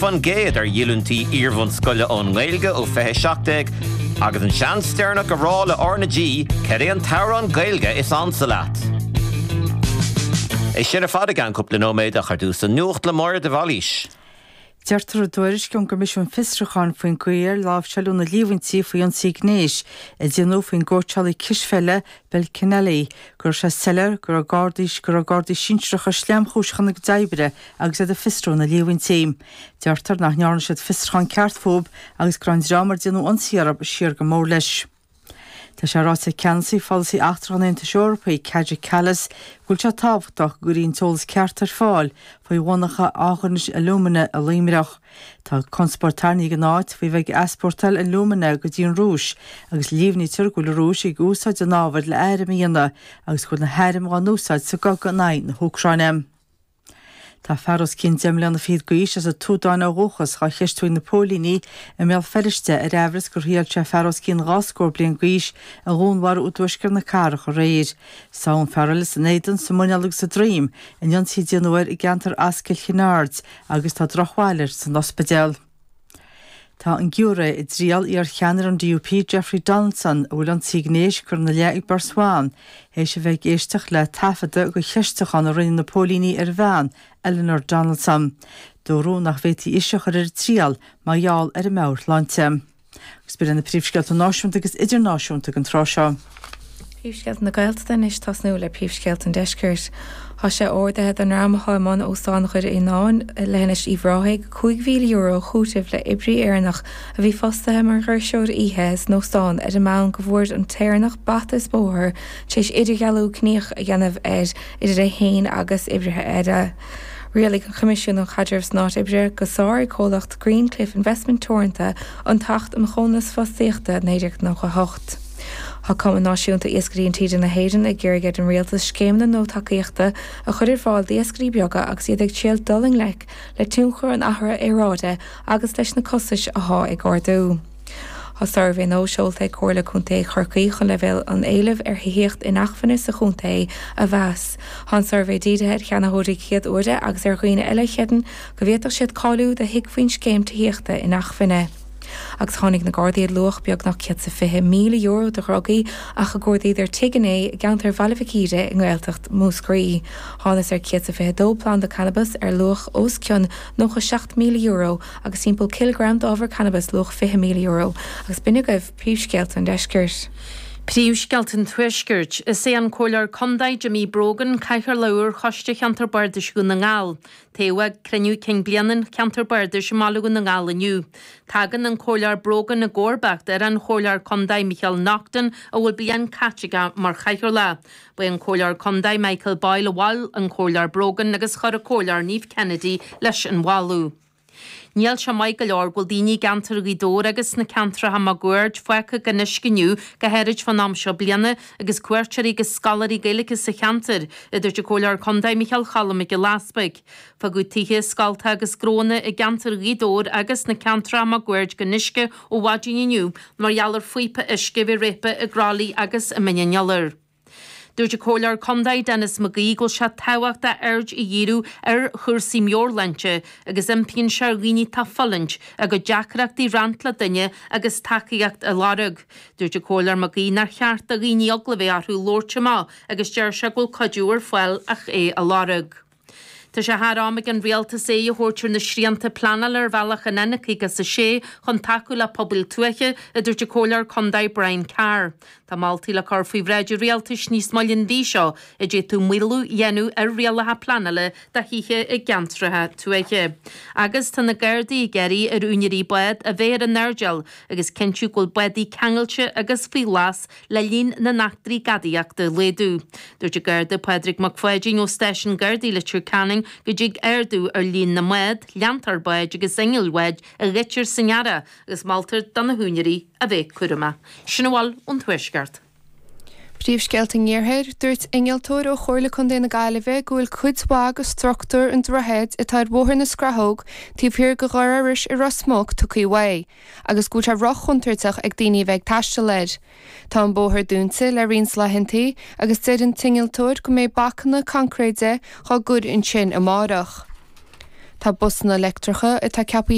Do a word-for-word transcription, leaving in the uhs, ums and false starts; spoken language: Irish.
faoin gcéad ar dhíolúintí iarbhunscoile ón nGaeilge ó fiche seacht déag agus an seans deireanach a rá le R na G cad é an t-amhrán Gaeilge is ansa leat. É sin ar fad i gceann cúpla nóiméad ach ar dtús an nuacht le Máire de Bhailís. Deirtear i dtuairisc ón gCoimisiún Fiosrúcháin faoin gcaoi ar láimhseáladh na líomhaintí faoi ionsaí gnéis a déanadh faoin gcóitseálaí cispheile Bill Kennelly go raibh sé soiléir go raibh gardaí go raibh gardaí sinsearacha sleamchúiseach ina gcuid oibre agus iad ag fiosrú na líomhaintí. Deirtear nach ndearna siad fiosrúchán ceart fúthu agus go raibh an dream ar déanadh ionsaí orthu siar go mór leis. Tá sé ráite ag ceannasaí pholasaí eachtrach an Aontais Eorpaigh, Kaja Kallas, go bhfuil sé tábhachtach go gcuirfí an t-eolas ceart ar fáil faoi mhonarcha athghiniúna alúmana i Luimneach. Tá conspóid tarraingthe ag an áit faoi bheith ag easpórtáil alúmana go dtí an Rúis agus líomhnaítear go bhfuil an Rúis ag úsáid an ábhair le hairm a dhéanamh agus go bhfuil na hairm á n-úsáid sa gcogadh in aghaidh na hÚcráine. Tá fear os cionn deich mbliana fichead d'aois as an tSúdáin ó dhúchas á cheistiú ag na póilíní i mBéal Feirste ar amhras gur thriail sé fear os cionn dhá scór bliain d'aois a dhúnmharú i dtuaisceart na cathrach aréir. Sádh an fear eile san éadan, sa muineál agus sa droim in ionsaí a déanadh air i gceantar Ascaill Chinn Aird agus tá drochbhail air san ospidéal. Tá an giúiré i dtriail iar-cheannaire an DUP Jeffrey Donaldson a bhfuil ionsaí gnéis curtha ina leith ag beirt bhan, théis a bheith ag éisteacht le taifeadadh de cheistiúchán a rinne na póilíní ar a bhean, Eleanor Donaldson. Dúradh nach bhféadfaí ise a chur ar an triail mar gheall ar a meabhairshláinte. Agus b'in na príomhscéalta náisiúnta agus idirnáisiúnta den tráth seo. Príomhscéalta na Gaeltachta anois tosnú le príomhscéalta an Deiscirt. Tá sé ordaithe don dream atá i mbun Óstán Dhoire Fhíonáin i Leithinis Uíbh Ráthaigh cúig mhíle euro a chúiteamh le oibrí Éireannach a bhí fostaithe mar dhoirseoir oíche san óstán ar an mbonn go bhfuair an tÉireannach bata is bóthar tar éis idirdhealú ciníoch a dhéanamh air idir é féin agus oibrithe eile. Rialaigh an Coimisiún um Chaidreamh san Áit Oibre gur sháraigh comhlacht Greencliff Investment Teoranta an tAcht um Chónasc Fostaíochta naoi déag nócha a hocht. Tá Cumann Náisiúnta Iascairí Intíre na hÉireann ag iarraidh ar an rialtas scéimeanna nua tacaíochta a chur ar fáil d'iascairí beaga agus iad ag triail dul i ngleic le tionchar an athraithe aeráide agus leis na costais atá ag ardú. Tá suirbhé nua seolta ag Comhairle Contae Chorcaí chun leibhéal an éilimh ar thithíocht inacmhainne sa chontae a mheas. Tá an suirbhé dírithe ar cheannaitheoirí céad uaire agus ar dhaoine eile a chreideann go bhféadfadh siad cáiliú do thigh faoin scéim tithíochta inacmhainne. Agus tháinig na Gardaí ar luach beagnach céad is fiche míle euro de dhrugaí ach a cuardaíodar tigh inné i gceantar Bhaile Mhic Íre i nGaeltacht Mhúscraí. Thángthas ar céad is fiche dó planda cannabais ar luach os cionn nócha seacht míle euro agus timpeall cileagram d'ábhar cannabais luach fiche míle euro agus b'in agaibh príomhscéalta an deiscirt. Príomhscéalta an Tuaiscirt. Is é an Comhairleoir Contae Jimmy Brogan cathaoirleach úr Choiste Cheantar Bardais Dhún na nGall. Toghadh ag cruinniú cinn bliana an Cheantar Bardais i mBaile Dhún na nGall inniu. Tagann an Comhairleoir Brogan i gcomharbacht ar an Chomhairleoir Contae Micheál Naughton a bhfuil bliain caite aige mar chathaoirleach. Ba é an Comhairleoir Contae Michael Boyle a mhol an Comhairleoir Brogan agus chuir an Comhairleoir Niamh Kennedy leis an mholadh. Níl sé maith go leor go bhfuil daoine i gceantar Ghaoth Dobhair agus sna ceantracha máguaird fágtha gan uisce inniu, go háirid fán am seo bliana, agus cuairteoirí agus scoláirí Gaeilge sa cheantar, a dúirt an Comhairleoir Contae Micheál Cholm Mac Giolla Easpaig. Fágadh tithe, scoltacha agus gnóanna i gceantar Ghaoth Dobhair agus sna ceantracha máguaird gan uisce ó mhaidin inniu mar gheall ar phíopa uisce a bhí réabtha i gCroithlí agus i mBinn an Iolair. Dúirt an Comhairleoir Contae Denis McGee go bhfuil sé tábhachtach aird a dhíriú ar chúrsaí meabhairshláinte agus impíonn sé ar dhaoine atá ag fulaingt a gcuid deacrachtaí a roinnt le duine agus tacaíocht a lorg. Dúirt an Comhairleoir McGee nár cheart do dhaoine eagla a bheith orthu labhairt amach agus deir sé go bhfuil cuidiú ar fáil ach é a lorg. Tá sé thar am ag an rialtas aghaidh a thabhairt ar na srianta pleanála ar bhealach an N caoga is a sé chun tacú le pobail tuaithe, a dúirt an Comhairleoir Contae Brian Carr. Tá moltaí le cur faoi bhráid an rialtais níos moille an mhí seo a d'fhéadfadh maolú a dhéanamh ar rialacha pleanála do thithe i gceantracha tuaithe. Agus tá na Gardaí ag iarraidh ar úinéirí bád a bheith ar a n-airdeall agus cinntiú go bhfuil bádaí ceangailte agus faoi ghlas le líon na n-eachtraí gadaíochta a laghdú. Dúirt an Garda Pádraig Mac Pháidín ó Stáisiún Gardaí Leitir Ceanainn go dtig ardú ar líon na mbád, leantóir báid agus innill bháid a ghoidtear san earrach agus moltar do na húinéirí a bheith cúramach. Sin a bhfuil ón Tuaisceart. Príomhscéalta an Iarthair, Dúirt innealtóir ó Chomhairle Contae na Gaillimhe go bhfuil cuid mhaith de struchtúr an droichid atá ar Bhóthar na Scrathóg taobh thiar de Dhoire Iorrais i Ros Muc tugtha uaidh agus go bhfuil sé rochontúirteach ag daoine a bheith ag taisteal air. Tá an bóthar dúnta le roinnt laethanta agus deir an t-innealtóir go mbeidh bacanna coincréide á gcur ansin amárach. Tá busanna leictreacha atá ceaptha